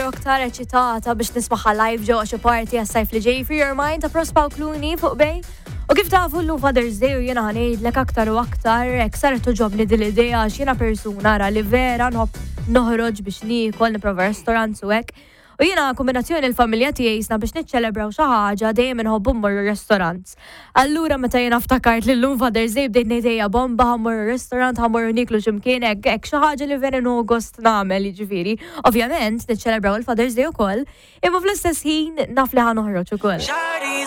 aktar u aktar eċitata biex nismaħħa live ġewwa xi party għas-sajf li ġej Free Your Mind ta' Prospa u Clooney fuq Bay. U kif tafu llum Father's Day u jiena ħa ngħidlek aktar u aktar hekk saret toġobni din l-idea għax jiena persuna ra li vera nħobb noħroġ biex niekol, nipprova restaurants u hekk. U jiena kombinazzjoni l-familja tiegħi jisna biex niċċelebraw xi ħaġa dejjem inħobbu mmorru restaurants. Allura meta jiena ftakart li llum Father's Day bdejt ngħid ejja bomba ħa mmorru restaurant, ħa mmorru nieklu x'imkien hekk hekk xi ħaġa li vera nieħu gost nagħmel jiġifieri. Ovvjament niċċelebraw il-Father's Day ukoll, imma fl-istess ħin naf li ħa noħroġ ukoll.